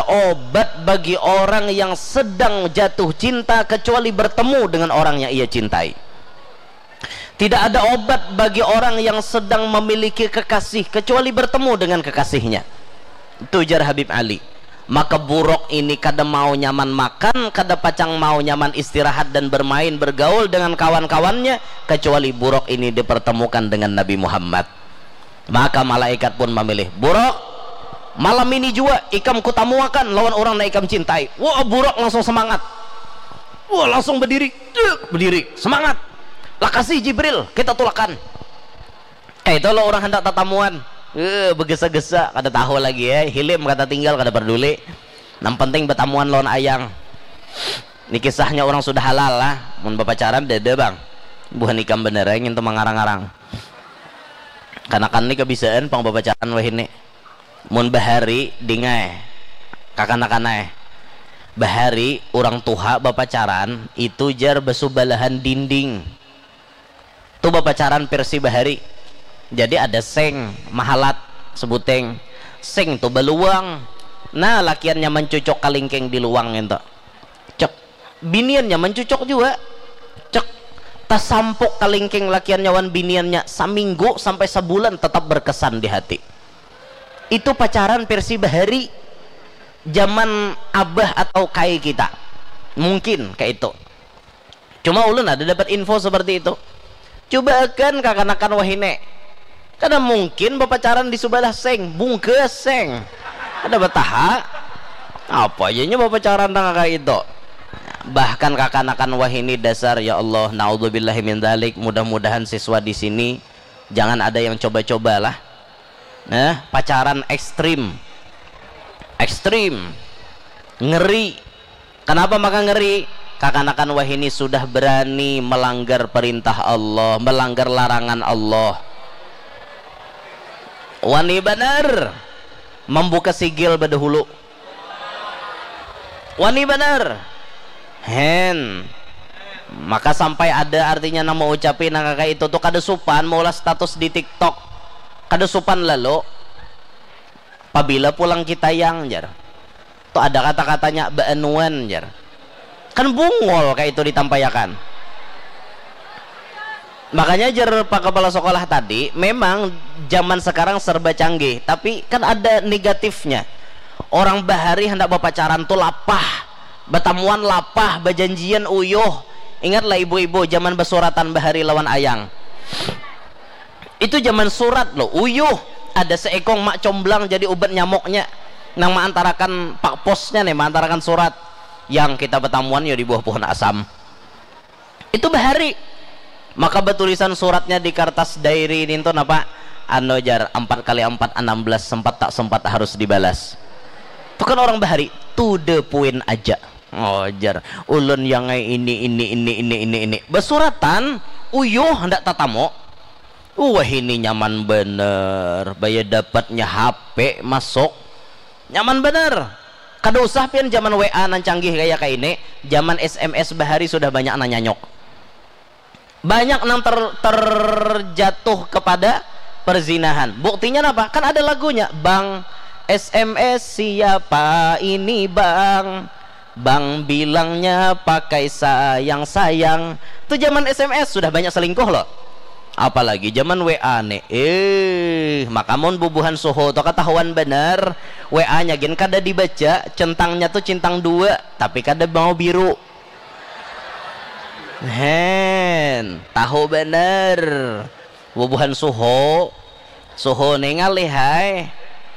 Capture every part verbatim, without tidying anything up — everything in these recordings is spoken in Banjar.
obat bagi orang yang sedang jatuh cinta kecuali bertemu dengan orang yang ia cintai. Tidak ada obat bagi orang yang sedang memiliki kekasih kecuali bertemu dengan kekasihnya. Itu ujar Habib Ali. Maka buruk ini kada mau nyaman makan, kada pacang mau nyaman istirahat dan bermain, bergaul dengan kawan-kawannya, kecuali buruk ini dipertemukan dengan Nabi Muhammad. Maka malaikat pun memilih, "Buruk, malam ini jua ikam kutamuakan lawan orang nang ikam cintai." Wah, buruk langsung semangat. Wah, langsung berdiri. Dek, berdiri. Semangat. "Lakasi Jibril, kita tulakan." Kayak itu lo orang hendak tatamuan. Eh, begesa-gesa, kada tahu lagi ya. Hilim kata tinggal, kada peduli. Nang penting betamuan lawan ayang. Ini kisahnya orang sudah halal lah. Mun bapacaran, dada bang. Buhan ikam bener ya, ngintu mangarang-arang. Kanakan ni kebisaan pang bapacaran wahini. Mun bahari, dingai. Kakanakan ai. Bahari, urang tuha bapacaran, itu jar basubalahan dinding. Tu bapacaran versi bahari. Jadi ada seng, mahalat, sebuteng. Seng tu baluang. Nah, lakiannya mancucuk kalingking di luang ngintu. Cek. Biniannya mancucuk jua. Cek. Tasampuk kalingking lakiannya wan biniannya saminggu sampai sabulan tetap berkesan di hati. Itu pacaran versi bahari. Zaman abah atau kai kita. Mungkin kayak itu. Cuma ulun ada dapat info seperti itu. Cubaakan kakanakan wahini. Kada mungkin bapacaran di subalah seng, bungkas seng. Kada bataha. Apa aja nya bapacaran nang kayak itu. Bahkan kakanakan wahini dasar, ya Allah, naudzubillahi min dzalik. Mudah-mudahan siswa di sini jangan ada yang coba-cobalah. Nah, pacaran ekstrim. Ekstrim. Ngeri. Kenapa maka ngeri? Kakanakan wahini sudah berani melanggar perintah Allah, melanggar larangan Allah. Wani banar membuka sigil badahulu. Wani banar. Hen. Maka sampai ada artinya nang maucapi nang kaya itu tu kada supan maulah status di TikTok. Kada supan lalu. Pabila pulang kita yang, jar. Tu ada kata-katanya baanuan, jar. Kan bungol kaya itu ditampaiakan. Makanya jar Pak Kepala Sekolah tadi, memang zaman sekarang serba canggih, tapi kan ada negatifnya. Orang bahari hendak bapacaran tu lapah, batamuan lapah, bajanjian uyuh. Ingatlah ibu-ibu zaman basuratan bahari lawan ayang. Itu zaman surat loh, uyuh. Ada seekong mak comblang jadi ubat nyamuknya. Nang maantarakan pak posnya nih, maantarakan surat. Yang kita batamuan ya di bawah pohon asam. Itu bahari. Maka batulisan suratnya di kartas diary ini tuh napa? Anu jar, empat kali empat, enam belas, sempat tak sempat harus dibalas. Itu kan orang bahari, to the point aja. Oh jar, ulun yang ini, ini, ini, ini, ini, ini. Basuratan, uyuh, hendak tatamu. Wah ini nyaman bener, baya dapatnya H P masuk. Nyaman bener. Kada usah pian zaman W A nang canggih kaya kaini, zaman S M S bahari sudah banyak nang nyanyuk. Banyak nang ter, terjatuh kepada perzinahan. Buktinya apa? Kan ada lagunya, Bang, S M S siapa ini Bang? Bang bilangnya pakai sayang-sayang. Tu zaman S M S sudah banyak selingkuh loh. Apalagi zaman W A nih. Eh, maka mun bubuhan suhu tu ketahuan bener. W A-nya gin kada dibaca, centangnya tu centang dua, tapi kada mau biru. Hen, tahu bener. Bubuhan suhu, suhu nih ngalih hai.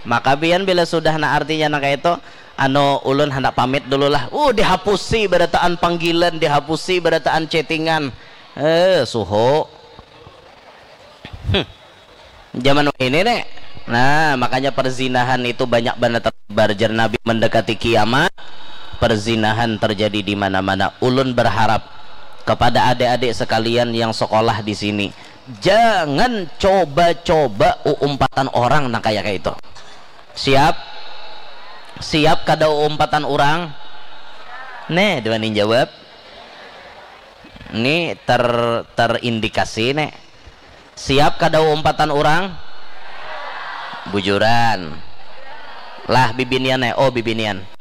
Maka pian bila sudah na artinya nang kaya itu, anu ulun handak pamit dulu lah. Uh, dihapusi barataan panggilan, dihapusi barataan chattingan. Eh, suhu. Hmm. Zaman ini nih. Nah, makanya perzinahan itu banyak banget tersebar. Jar Nabi mendekati kiamat, perzinahan terjadi di mana-mana. Ulun berharap kepada adik-adik sekalian yang sekolah di sini, jangan coba-coba uumpatan orang nang kaya kayak itu. Siap? Siap kada uumpatan orang? Nih, dua nih jawab. Ini ter terindikasi nih. Siap kada uumpatan orang? Bujuran. Lah bibinian nih, oh bibinian.